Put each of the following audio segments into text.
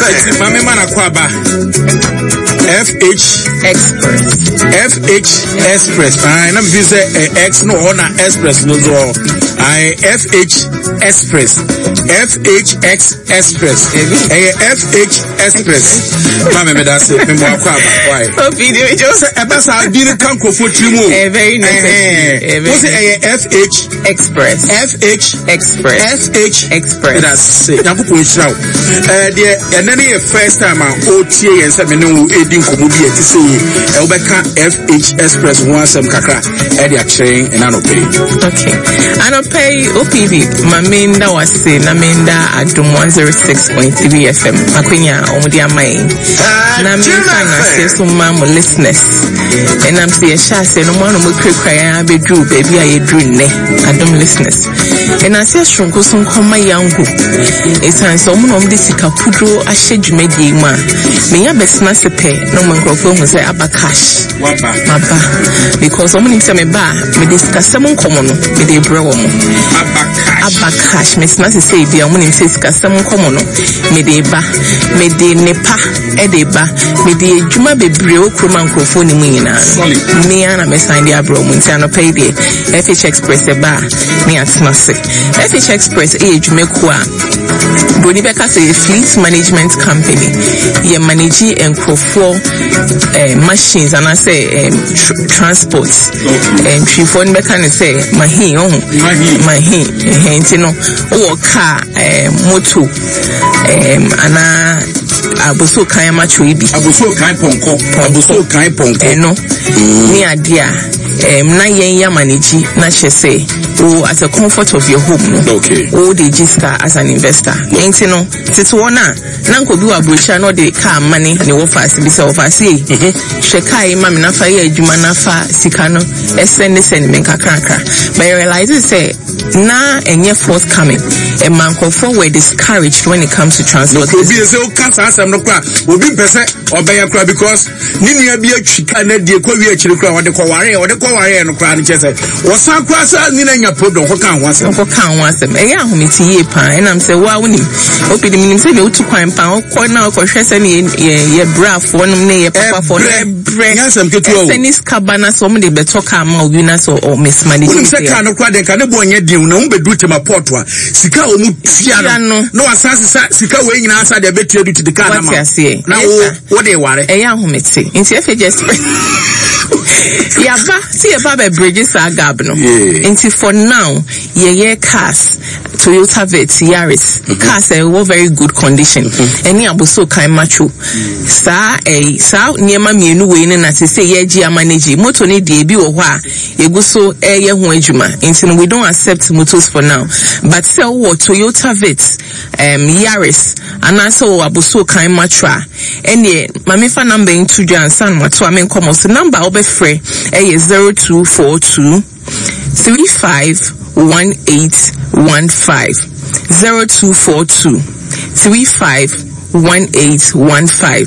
Eti maame ma na kɔ aba. FH Express. FH Express. Ayi na mi fi sɛ eh, X no wɔ hɔ na Express no nso wɔ hɔ. Ayi FH Express. FHX Express. Ɛyɛ FH Express. Maame mi da se mi mu akɔ aba. Why? Obi di mi jo. Sɛ ɛbɛ saa bi ne ka nkurɔfoɔ tiri mu o. Eh, very necessary. Eh, very Wo sɛ ɛyɛ FH Express. FH Express. FH Express. That's it. Nyankopɔn nhyira wo. Eh, deɛ ɛnɛ ne yɛ first time a ɔretie yɛn sɛ me ne wo ɛredi nkɔmmɔ bi a ɛte sɛ yi. Eh, wobɛka FH Express ho asɛm kakra ɛde akyerɛ yɛn ɛna anɔpɛ yi. Okay. Anɔpɛ yi OPV ma menda wase na menda Adom 106.3 FM akwanya a wɔde ama yɛn. Na memfa n'aseɛ so ma mo listeners. Ɛnam sɛ yɛhyɛ aseɛ no mo ano mo kurakura yɛn abɛduru baabi a yɛduru nnɛ Adom listeners. Ɛnase soronko so nkɔma Yango. Ɛsiane sɛ wɔn na wɔde sika kuduro ahyɛ dwumadie yi mu a, menya bɛtena ase pɛ na wɔn nkurɔfoɔ ahu sɛ aba cash. Maba. Because wɔn nim sɛ meba a, mede sikasɛm nkɔmɔ no mede brɛ wɔn. Aba cash. Aba cash. Metena ase sɛ ebi a wɔn nim sɛ sikasɛm nkɔmɔ no mede ba. Mede nepa ɛde ba. Mede adwuma bebree wɔ kurom a nkurɔfoɔ ne mu nyinaa. Me ara na mɛsan de abrɛ wɔn nti anɔpa yi deɛ. FH Express ɛba a ne yɛatena ase. FH Express yɛ adwumakuo a Broni bɛka sɛ yɛ fleet management company. Yɛ manage nkurɔfoɔ eh, machines anaasɛ eh, tr transport. Eh, ntwifoɔ no bɛka ne sɛ mahin ɔho. Mahin. Ɛhɛn nti no wowɔ car, eh, moto eh, anaa aboso kan amatwo yi bi. Aboso kan pɔnkɔ. Aboso kan pɔnkɔ. Ɛno ne adeɛ a. Um, na yɛn yɛ manage na kyerɛ sɛ wo at the comfort of your home no okay. wo de gye sika as an investor nti no tete wɔn a na nka obi wɔ aburokyire na ɔde kaa ma ne ne wɔfa ase bi sɛ wɔfa ase yi mhm. hwɛ kaa yi ma me nafa yɛ adwuma nafa sika no ɛsɛ ne sɛ ne me nkakrakra but I realize sɛ na ɛnyɛ forthcoming ɛma nkurɔfoɔ were discouraged when it comes to transport. obi sɛ woka saa asɛm no koraa obi mpɛ sɛ ɔbɛyɛ koraa because ne nua bi atwi kaa no adie kɔ wie akyiri koraa ɔde kɔwareɛ ɔde kɔwareɛ no koraa no kyerɛ sɛ wɔsan koraa sɛ ne na nya problem kɔka ho asɛm kɔka ho asɛm ɛyɛ ahomete yie paa ɛnam sɛ woa wonim obi de menim sɛ deɛ wotu kwan paa wokɔ na wokɔhwɛ sɛ ne yɛ brafoɔ nom ne yɛ papafoɔ no ɛbrɛ nyasɛm ketewa o ɛsɛ ne sika ba na sɛ wɔn de bɛtɔ kaa ma obi na sɛ ɔ mismanage wonim sɛ kaa no koraa deɛ nka ne boɔ nyɛ den na wɔn bɛduru tema port a sika a wɔn tua no na wasan sesa sika wei nyinaa sa deɛ bɛtua du tete kaa no ma na wo Wo de ware. Ɛyɛ ahomete. Nti afei just yaba sɛ yɛba bɛ bridge saa gap no. Nti for now yɛyɛ cars Toyota Vitz, Yaris, mm -hmm. cars a ɛwɔ very good condition. Ɛne mm -hmm. aboso kan macho. Saa ɛyi saa nneɛma mmienu wei no na te sɛ yɛgye ama ne gye. Moto ne deɛ ebi wɔ hɔ a yɛgu so ɛyɛ ho adwuma. Nti no we don't accept motos for now. But sɛ wowɔ Toyota Vitz, um, Yaris anaasɛ wɔ abosuo kan matro a, ɛnneɛ ma memfa number yi nto dwa ansa na matoa me nkɔmmɔ so. Number a wobɛfrɛ yɛ 0242 351815. 0242 351815.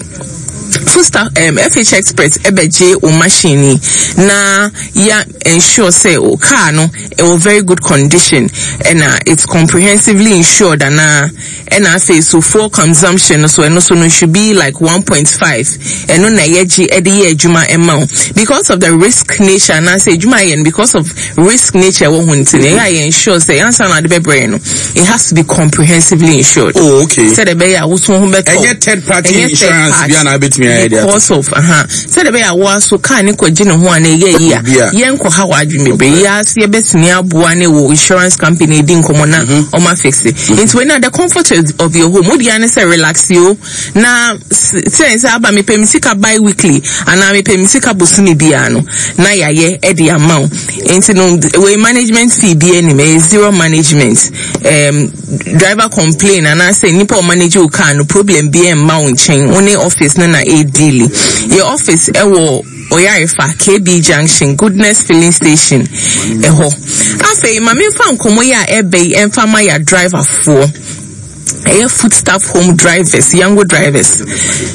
Foodstuff, um, FH Express ɛbɛgye wo machine yi na ya ensure sɛ wo car no ɛwɔ very good condition ɛna it's comprehensively insured anaa ɛna afei so fuel consumption no so ɛno so no should be like 1.5 ɛno na yɛgye ɛde yɛ adwuma ɛma wo because of the risk nature anaasɛ adwuma yɛ no because of risk nature ɛwɔ ho nti no ɛyɛ a yɛ ensure sɛ ansa na ade bɛbrɛ no it has to be comprehensively insured. Oh, okay. Sɛ de bɛyɛ a woso ho bɛtɔ. Ɛnyɛ third party insurance bi a na abɛtumi ayɛ de ato. Because of aha. Sɛdeɛ ɛbɛyɛ a wo so kaa ne kɔgye ne ho a na ɛyɛ yi a yɛnkɔ ha w'adwene bebree yɛ ase yɛbɛtumi aboa ne wɔ insurance company di nkɔmmɔ na mhm. ɔma fixe mhm. nti wei na the comfort of your home wodi ane sɛ relax yo na sɛ sɛ aba mepɛ me sika bi weekly anaa mepɛ me sika bosome biara no na yɛayɛ ɛde ama wo nti no wei management fee bi anim ɛyɛ zero management um, driver complain anaasɛ nipa a ɔmanage wo car no problem bi mma wo nkyɛn wo ne office no na ɛredili yɛ office ɛwɔ Oyarefa KB Junction Goodness Filling Station ɛhɔ afei ma memfa nkɔmmɔ yi a ɛbɛ yi ɛmfa ma yɛ driverfoɔ. Ɛyɛ foodstuff home drivers, Yango drivers.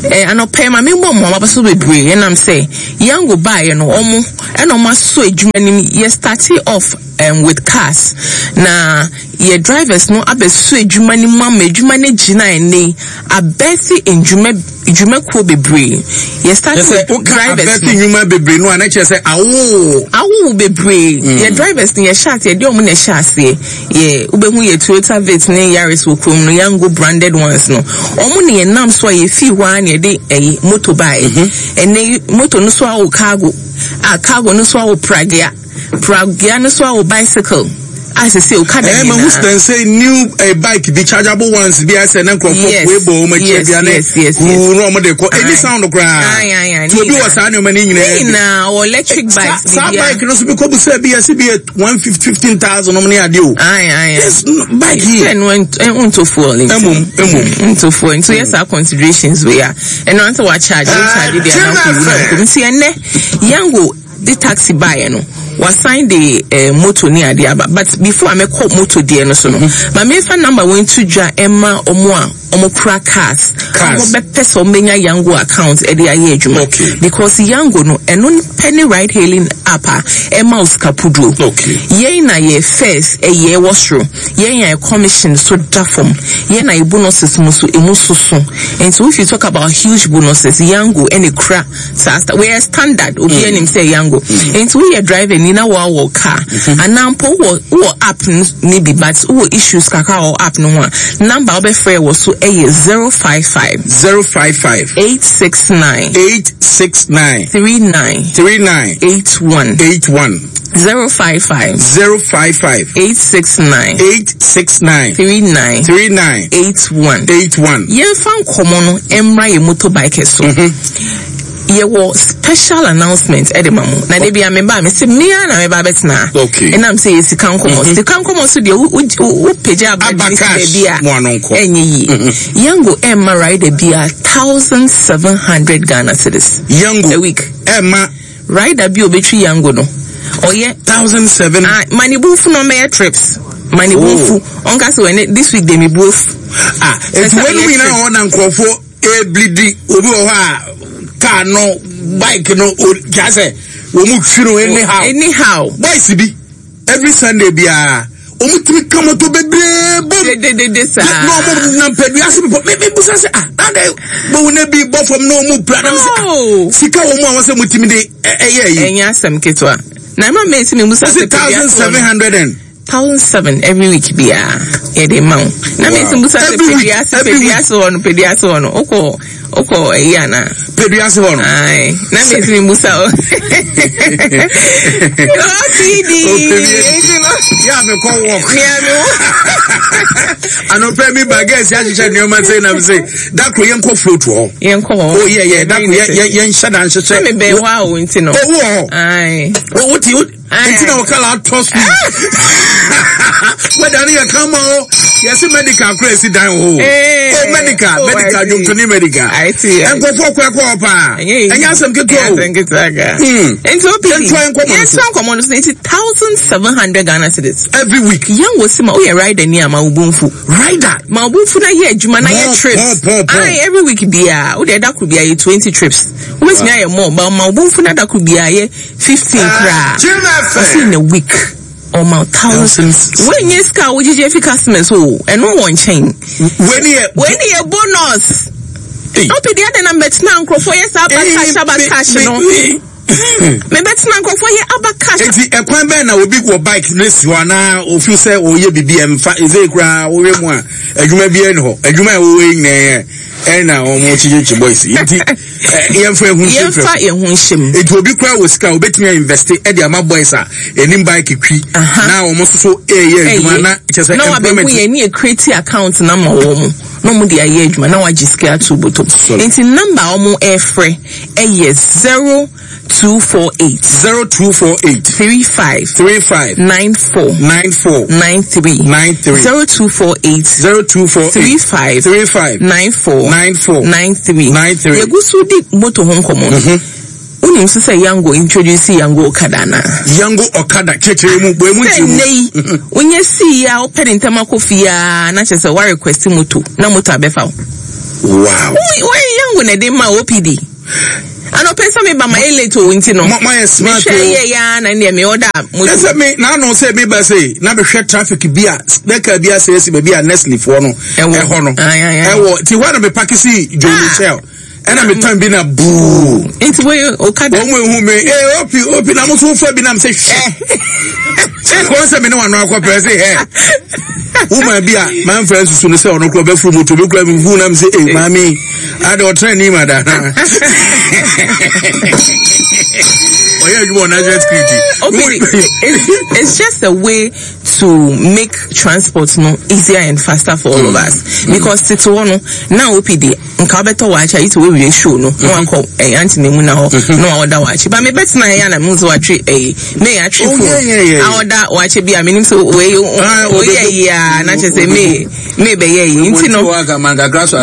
Eh, anɔpa yi ma me bɔ mo aba so bebree ɛnam sɛ Yango baeɛ no ɔmo ɛna ɔmo asɔ adwuma nim. Yɛ startee off um, with cars na yɛ drivers no abɛsɔ adwuma no mu ama adwuma no agyina ɛnɛ yi abɛɛte ndwuma dwumakuo bebree. Yɛ start with drivers no. Abɛɛte nnwuma bebree no a na kyerɛ sɛ awo. Awo bebree. Yɛ drivers no yɛ hyɛ aseɛ yɛde ɔmo na ɛhyɛ aseɛ. Yɛ wobɛhu yɛ Toyota Vitz ne Yaris wɔ kurom no, Yango branded ones no. Ɔmo na yɛnam so a yɛfii hɔ ara na yɛde ɛyi moto baeɛ. Ɛnɛ yi moto no so awo cargo, a cargo no so awo pragea, pragea no so awo bicycle a sese okada nyinaa. Ɛɛ mahu sɛ new eh, bike bi chargeable ones bi asɛ na nkurɔfoɔ kue bɔ wɔn akyi bia ne huu na wɔn de kɔ ɛni sound koraa. Tí obi wɔ saa nneɛma ne nyinaa. Ne nyinaa wɔ electric bikes. Saa bike no so bi kɔ bu sɛ bi yɛsi bi yɛ 115,000 nom ne adeɛ o. Ayi ayi. Yes bike yi. Sɛ no nto fuel nti. Emom emom. Nto fuel nti yɛ saa considerations wei a ɛno ansa wa charge wo charge deɛ na kɔ wu na nkɔ nti ɛnɛ Yango de taxi baeɛ no wasan de eh, moto ne adeɛ aba but before a mɛkɔ moto deɛ no so no mm-hmm. ma memfa number wɔn to dwa ɛma ɔmo a ɔmo kura cars a ɔmo bɛpɛ sɛ ɔmo bɛnya Yango account ɛde ayɛ adwuma okay. because Yango no ɛno pɛ ne ride hailing app a ɛma wo sika puduo okay. Yɛn na yɛ fares ɛyɛ wɔ soro, yɛn na yɛ commission so da fam, yɛn na yɛ bonuses mu so emu soso. Nti if you talk about huge bonuses, Yango ɛna ekura saa sta wɔyɛ standard, obi mm. anim sɛ Yango. Mm. Nti woyɛ driver ni na wɔawɔ car mm-hmm. anaa mpo wowɔ wowɔ app no bi but wowɔ issues kakra wɔ app no ho a, number wobɛfrɛ wɔ so ɛyɛ 055 055 869 869 39 39 81 81 055 055 869 869 39 39 81 81. Yɛmfa nkɔmmɔ no mmra yɛn motorbike so. Yɛwɔ special announcement ɛde ma mo. Na de bia meba a mese me ara na meba abɛtena ha. Okay. Ɛnam sɛ yɛ sika nkɔmmɔ. Sika nkɔmmɔ so deɛ wo pagya aba Aba de si cash baabi a mo ano nkɔ. ɛnyɛ yie. Yango ɛmma rider bia 1,700 Ghana cedis Yango a week. ɛma Rider bi a obetwi Yango no, ɔyɛ. 1,007. Ah, ma ne bo nfu na ɔmmɛyɛ trips. Ma ne bo Oh. nfu. Ɔnka sɛ wɛne this week de me bo afu. Ah, eti Sɛ wɔn ɔyɛ nyinaa trip. wɔ hɔ na nkurɔfoɔ eblidi obi wɔ hɔ a car no bike no o kya sɛ wɔn mu twi no anyhow. Anyhow. Boys bi every Sunday biara wɔn tumi ka moto bebree bom. Dededede saa. Na wɔn nam pɛdua ase bepɔ mi mi busa sɛ ah na de bohu na bi bɔ fam na wɔn pira na mi sɛ ah Oh. sika wɔn mu a wɔn sɛ mo tumi de ɛyɛ yi. Ɛnyɛ asɛm ketewa. Na ɛma mesi mi musa Wɔsi sɛ pɛdua thousand ase wɔ seven no. hundred and. 1,007 every week biara yɛde ma wo. Na mesi musa sɛ Every week, pɛdua ase every pɛdua week. ase wɔ no pɛdua ase wɔ no wokɔ wokɔ ɛyi anaa. Pɛdua ase hɔ no. Aye. Na mesi mi musa o. OPD. Yà mi kɔ work. Mia mi wo. Anɔpɛ mi ba gɛɛsi ahyehyɛ nneɛma sɛ nam sɛ dako yɛn kɔ float hɔ. Yɛn kɔ hɔ. Oh yeah yeah dako yɛn yɛn hyɛ da nhyehyɛ. Na mi bɛn hɔ a o nti no. Owó hɔ. Aye. O ti o nti na wɔka la atɔ so wɛda no yɛ ka ma o yɛse medical kora ɛsi dan wɔ eh, o medical oh, medical dwontoni medical nkurɔfoɔ kɔ ɛkɔ hɔ paa ɛnyɛ asɛm ketewa o hmm. nti o pii yɛntoa nkɔmmɔ no so nti 1,700 Ghana cedis every week yɛn wɔ si ma woyɛ rider ni a ma wo bo mfu rider ma wo bo mfu na yɛ adwuma na yɛ trips ayi every week biara wode ɛda koro biara yɛ 20 trips wobɛtumi ayɛ more ba ma wo bo mfu na da koro biara yɛ 15 koraa ɔsi in a week ɔma thousand wei nye sika a wogyegye afi customers o ɛno wɔ nkyɛn wei ni yɛ bonus ɔpɛ deɛ adɛn na mbɛtena nkurɔfoɔ yɛ saa aba cash aba cash no mebɛtena nkurɔfoɔ yɛ aba cash. Eti ɛkwan bɛn na obi wɔ bike ne si hɔ anaa ofi sɛ ɔyɛ bibi ɛmfa ɛsɛ koraa wohwɛ mu a adwuma biara ni hɔ adwuma a ɛwɔ yi nyinaa yɛ ɛna wɔn kyikyikyi boys nti yɛnfa ehu nhyɛ fam yɛnfa yɛn ho nhyɛ mu nti obi kura wɔ sika obetumi a invest ɛde ama boys a enim bike twi na wɔn nso so ɛyɛ adwuma na kyɛ sɛ na wabɛhu yɛn ne yɛ create account na ma wɔn na wɔn de ayɛ adwuma na wagye sika ato bɔtɔ nti number a wɔn ɛfrɛ ɛyɛ 0248. 0248. 35. 35. 94. 94. 93. 93. 0248. 0248. 35. 35. 94. 94. 93. 93. Yɛgu so di moto ho nkɔmmɔ no. Wonim nso sɛ Yango introduce Yango Okada anaa? Yango Okada kyerɛkyerɛ mu bɔ emu nkyerɛ mu. Sɛ nnɛ yi wonyɛ sii yi a wopɛ ne ntɛm akɔ fie a na kyerɛ sɛ wa request moto na moto abɛfa wo. Wow. Wo Yango na ɛde ma OPD. Anɔpɛ sɛ meba ma yɛ late o nti no. Mo ayɛ smart o. Mehwɛ yɛ ya na ndeɛ me order moto. Ɛsɛ me na ano sɛ meba sɛ na mehwɛ traffic bi a bɛka bi asɛ asi baabi a Nestle foɔ no ɛhɔ no. Ɛwɔ ti hɔ na me park si Joe Michelle. Ɛna me tan bi na buu. Nti wo okada. Wɔn mu ehu me ee opi opi na mo so fa bi na mo sɛ hwɛ. Wɔn sɛ me ne wɔn ano akɔ pɛrɛ sɛ hɛ. Woman bi a maa nfa nsusu no sɛ ɔno kura ɔbɛfuru moto bi kura mi hu na mi sɛ ee maame adi ɔtɛn ni ma da. Ɔyɛ adwuma wɔ national security. Opi it's just a way to make transport no easier and faster for all of us because tete hɔ no na opi de. Nka wobɛtɔ waakye a yi sɛ woawie show no na wakɔ ɛyɛ aunty na emu na hɔ na waɔda waakye ba mebɛtena ɛyɛ na mehu sɛ watwe ɛyi may atwe Oh, phone yeah, yeah, yeah. aɔda waakye bi a menim sɛ wei Ah, oyɛ yi a na kyerɛ sɛ may may bɛyɛ yi nti no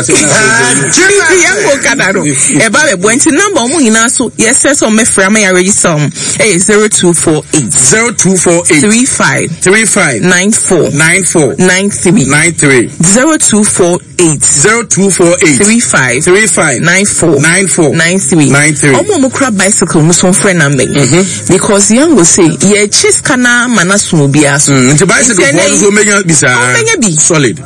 nti yɛnkɔ kada no ɛba bɛboa nti number ɔmo nyinaa so yɛsrɛ sɛ ɔmɛfrɛ ama yɛ register ɔmo ɛyɛ 0248 0248 35 35 94 94 93 93 0248 8. 0248 35 35 94 94 93 93. Ɔmo a ɔmo kura bicycle mo so nfrɛ number yi. Because Yango se yɛkye sika no ama no aso obiara so. Nti bicycle Nti ɛnɛ foɔ no yi- nso ɔmɛnya bi saa. Ɔmɛnya bi. Solid.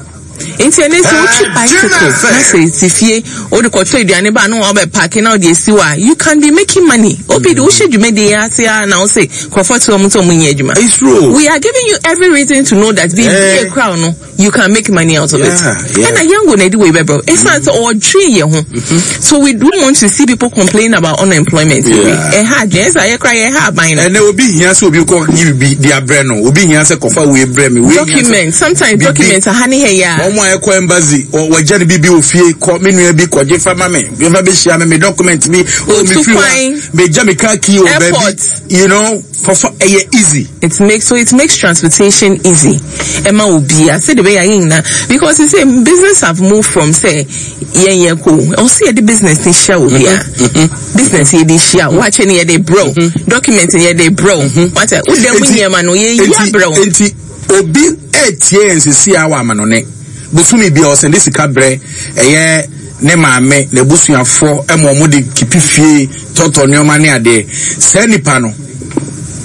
Nti ɛnɛ sɛ wotwi bicycle na sɛ esi fie wode kɔtɔ aduane ba na wabɛ paaki na wode esi hɔ a you can be making money. Obi de wohyɛ dwumadie yi ase a na wose nkurɔfoɔ te hɔ ɔmo sɛ ɔmo nyɛ adwuma. It's true. We are giving you every reason to know that biribi Eh. ekura wo no you can make money out of it. Ɛna Yango na ɛde wei bɛbrɛ wo. Ɛsiane sɛ ɔdwen yɛn ho. So we don't want to see people complain about unemployment. Ɛha adwene. Ɛsɛ ayɛ koraa yɛha aban no. Ɛnɛ obi hia sɛ obi kɔ yi bibi de abrɛ no. Obi hia sɛ kɔfa wei brɛ me. Wei hia sɛ Document. Sometimes bibi. document aha ne ha yi a. Wɔn a ɛkɔ embassy wɔgya ne bibi wɔ fie kɔ me nua bi kɔgye fa ma me. Fa bɛhyia me me document bi. Oh, me Otu firi hɔ a, kwan. megya me car key wɔ baabi. Airport. You know, kɔfa ɛyɛ easy. It makes so it makes transportation easy ɛma obia sɛdeɛ ɛbɛyɛ a yɛn nyinaa because you say business have moved from sɛ yɛn yɛ ko ɛwɔ sɛ yɛde business ni hyia obia business yɛde hyia wakyɛ ni yɛde brɛ wo document ni yɛde brɛ wo wakyɛ wo dɛm nneɛma no yɛ yi abrɛ wo. Enti obi ɛtie yɛn sisi a wɔ amanɔne bosome bi a ɔsɛnde sika brɛ ɛyɛ ne maame n'abusuafoɔ ɛma wɔn de kipi fie tɔtɔ nneɛma ne adeɛ saa nipa no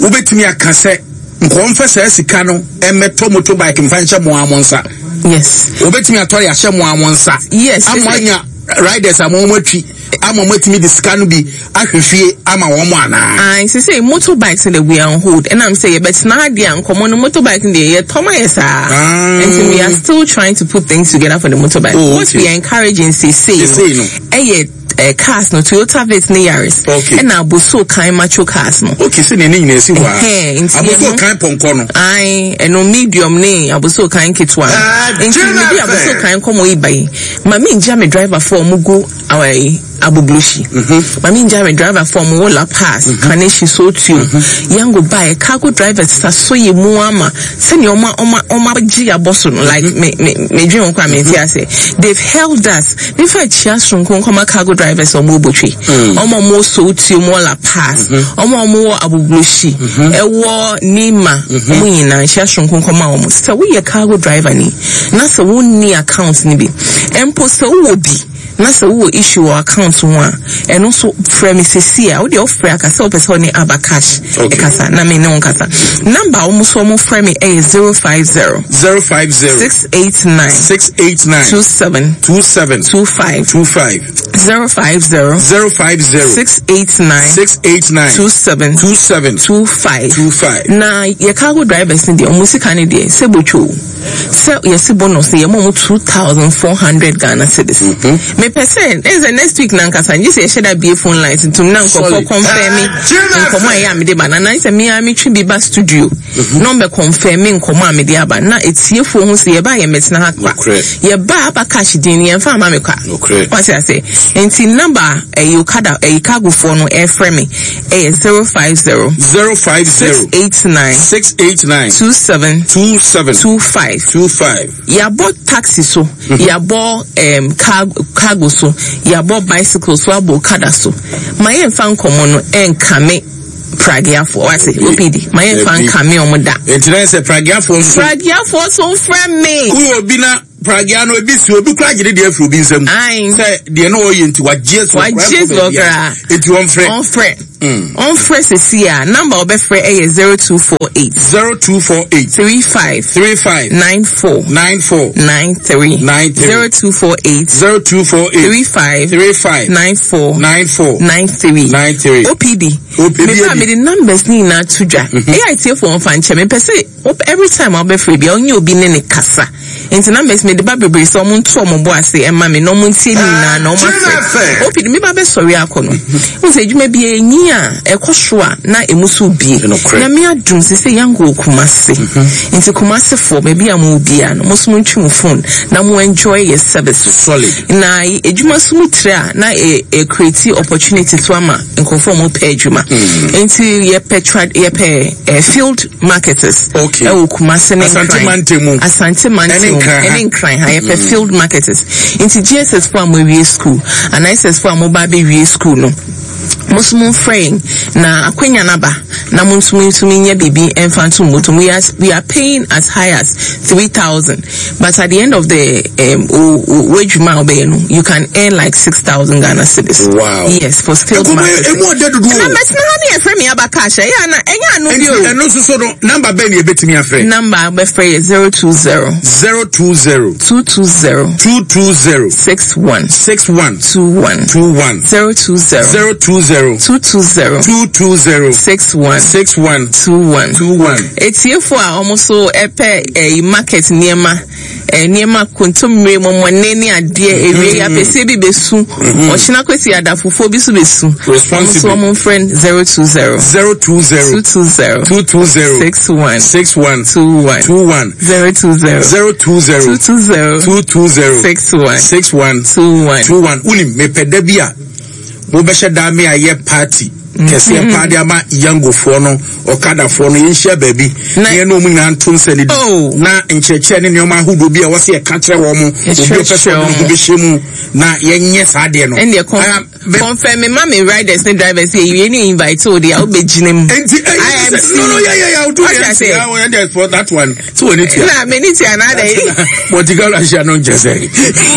wobɛtumi aka sɛ nka ɔmfa saa sika no mmɛtɔ motorbike mfa nhyɛ mo ara mo nsa. Yes. Wobɛtumi atɔ de ahyɛ mo ara mo nsa. Yes. Ama anya riders ama wɔn atwi ama wɔn atumi de sika no bi ahwɛ fie ama wɔn anaa. Ayi sɛ motorbikes no de we are on hold ɛnam sɛ yɛbɛtena ha deɛ a nkɔmɔ no motorbike no deɛ yɛtɔ ma yɛ saa. Ah. Nti we are still trying to put things together for the motorbike. Oh, What okay. we are encouraging sesei Sesei no. ɛyɛ eh, cars no Toyota Vitz ne Yaris Okay. ɛna abosuo kan macho cars no. Okay, sɛ nea ne nyinaa si hɔ a. Ɛhɛn, nti Abosuo ɛno- kan pɔnkɔ no. Ae, ɛno medium ne abosuo kan ketewa no. Ah, Nti Gina mede fɛ. abosuo kan nkɔmmɔ yi ba yi, ma mengya me driver fo a ɔmo gu ayi Agbogbloshie. Ma mengya me driver fo a ɔmo wɔ La Paz, Kaneshie, Sotio, Yango baeɛ, cargo drivers sasɔ yɛ mu ama sɛnea ɔmo ɔmo ɔmo agye yɛ abɔ so no, like me me medwen ho koraa mente aseɛ. They've held us. Mefa akyia soronko nkɔma cargo drivers a ɔmo wɔ Botwe, ɔmo a ɔmo wɔ Sowutuo, ɔmo wɔ La Paz, ɔmo a ɔmo wɔ Agbogbloshie, ɛwɔ Nima, ɔmo nyinaa nhyia soronko nkɔma ɔmo. Sɛ woyɛ cargo driver ni na sɛ wonni account no bi, mpo sɛ wowɔ bi na sɛ wowɔ issue wɔ account ho a, ɛno nso frɛ me sesie a, wodeɛ wofrɛ a ka sɛ wopɛ sɛ ɔne Aba Cash ɛkasa na me ne wo nkasa. Number a wɔn nso wɔn frɛ me ɛyɛ 050. 050. 689. 689. 27. 27. 25. 25. 050. 050. 689. 689. 27. 27. 25. 25. Na yɛ cargo drivers ne deɛ wɔn sika ne deɛ sɛ botwo. Sɛ yɛsi bonus no yɛma ɔmo 2400 Ghana cedis. Mepɛ sɛ ɛn sɛ next week nankasa ngye sɛ yɛhyɛ da bie phone lines ntom na nkurɔfoɔ confirm nkɔmɔ a ɛyɛ a mede ba na nan sɛ me ara metwe bi ba studio na ɔmbɛ confirm nkɔmɔ a mede aba na etiefoɔ ho sɛ yɛba a yɛmmɛtena ha kwa. Yɛba a aba cash din no yɛmfa ama me kwa. Wate ase? Nti number a ɛyi okada ɛyi cargofoɔ no ɛfrɛ me ɛyɛ 050 050 689 689 27 27 25. 25. Yɛabɔ taxi so, yɛabɔ um, cargo, cargo so, yɛabɔ bicycle so, abɔ okada so. Ma yɛmfa nkɔmmɔ no ɛnkame prageafoɔ wate OPD. Ma yɛmfa nkame ɔmo da. Nti na sɛ prageafoɔ nso. Prageafoɔ so mfrɛ me. Woyɛ obi na pragea no ebi si obi kura gyere deɛ afiri obi nsam. Sɛ deɛ no ɔyɛ nti wagye so. Wagye so koraa. Nti wɔmfrɛ. Ɔmfrɛ. Ɔmfrɛ sisi a number ɔbɛfrɛ ɛyɛ 0248. 0248. 35. 35. 94. 94. 93. 93. 0248. 0248. 35. 35. 94. 94. 93. 93. OPD. OPD. Mepa mede numbers ne nyinaa to dwa. Ɛyɛ atiefo wɔn fa nkyɛn mepɛ sɛ every time a wobɛfrɛ bia ɔnyɛ obi ne ne kasa. Nti numbers mede ba bebree sɛ ɔmo nto ɔmo bo ase ɛma me na ɔmo ntie ne nyinaa na ɔmo afrɛ. OPD me ba bɛsɔre akɔ no. N sɛ adwuma bi enyi a ɛkɔ so a na emu so bie. Na me adum sɛ sɛ yango wɔ Kumase. Nti Kumasefoɔ baabi a mo wɔ biara no mo so mo ntwi mo phone na mo enjoy yɛ services. Solid. Na adwuma so mu tire a na e e create opportunity so ama nkurɔfoɔ a wɔn pɛ adwuma. Nti yɛpɛ tra yɛpɛ eh, field marketers. Okay. Ɛwɔ Kumase ne Asante Nkran. Mantam. Asante Mantam Ɛne Nkran ha. ɛne Nkran ha yɛpɛ field marketers. Nti GSS fo a mo awie school anaa SS fo a mo ba abɛwie school no mo nso mo mfrɛ yɛn na akwanya naba na mo nso mo ntumi nyɛ biribi mfa nto mo bɔtɔ mu. We are paying as high as 3,000, but at the end of the w'adwuma a wobɛyɛ no, you can earn like 6,000 Ghana cedis. Yes, for field Nkɔmɔ marketing. emu ɔdɛ dodo Na o. mɛtena ha ne yɛfrɛ me aba cash, ɛyɛ ana ɛnyɛ ano bi Nti o. ɛno nso so no, number bɛn na yɛbɛtumi afrɛ? Number a wobɛfrɛ yɛ 020 020 220 220 61 61 21. 21. 020 020 220 220 61 61 21. 21. Etiefo a wɔn nso ɛpɛ ɛyi market nneɛma, nneɛma kontommire, mɔmɔne ne adeɛ ewie yi, apɛsie bi bɛsu ɔhyena kwesi adafofoɔ bi so bɛsu wɔn nso. Responsibly. Wɔn mfrɛ 020 020 220 220 61 61 21. 21. 020 020 220 220 61 61 21. 21. Wonim mepɛ da bi a wobɛhyɛ daa me ayɛ party kɛseɛ paa de ama yangofoɔ no, ɔkadafoɔ no, yɛnhyia baabi na yɛne ɔmu nyinaa nto nsa no bi Oh. na nkyerɛkyerɛ ne nneɛma ahodoɔ bi a ɛwɔ sɛ yɛka kyerɛ wɔ mo, obi a ɔpɛ sɛ ɔde ne ho bɛhyɛ mu na yɛnyɛ saa deɛ no. Ɛndeɛ Ah, confirm me ma me riders ne drivers yɛ yie ne invite o de a wobɛgyina mu. Enti IMC. No, yeah, I'll do What it. I say? Yeah, for that one. So when it Na meni tia na adɛ. Monte Carlo ahyia no nkyɛ sɛ